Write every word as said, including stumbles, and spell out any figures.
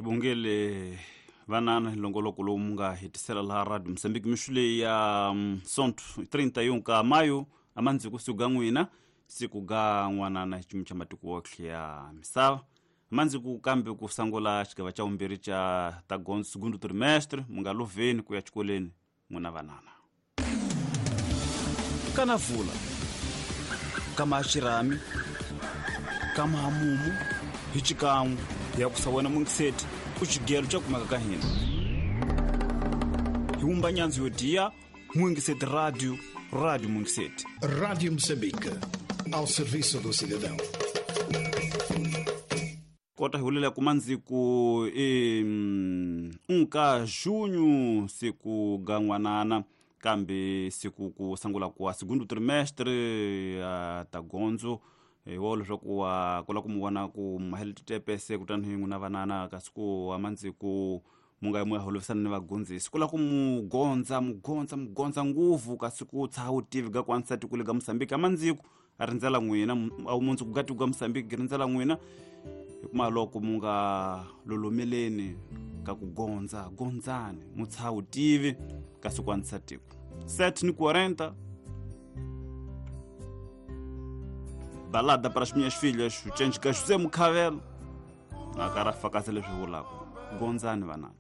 Hi bongele vanana hi longoloko lowu mu nga hetisela laha Radio Moçambique mixu leyi ya Sonto trinta e um ka maio amandziku siku ga n'wina siku ga n'wanana hi ximu xa matiko wotlhe ya misava amandziku kambe ku sangula xigava xa vumbirhi xa ta gondzo segundo trimestre mu nga loveni ku ya xikolweni n'wina vanana kana vula kama xirhami kama hamumu hi xikan'we ya ku sa wena mungiseti ku xigelo xa kumeka ka hina hi wumba nyandzu yo diya Mungiseti Radio, Rádio Mungiseti. Rádio Moçambique, ao serviço do cidadão. Kota hi hulela kuma ndziku e um ka junho siku ga n'wanana kambe siku ku sangula ku segundo trimestre ya ta gondzo hi wo leswaku wa kula ku mu vona ku mahele titepese kutani hi n'wina vanana kasi ku wa mandziku mu nga mu ya holovisana ni vagondzisi ku la ku mu gondza mu gondza mu gondza nguvu kasi ku tshaha wutivi ga ku antswisa tiko le ga Moçambique amandziku a rindzela n'wina a mundzuku ga tiko ga Moçambique rindzela n'wina hikuma loko mu nga lolomeleni ka ku gondza gondzani mu tshaha wutivi kasi ku antswisa tiko sete ni quarenta. Balada para as minhas filhas, o Change ka José Mucavelo. Na cara fakasa leswi vulaka. Gondzani vanana.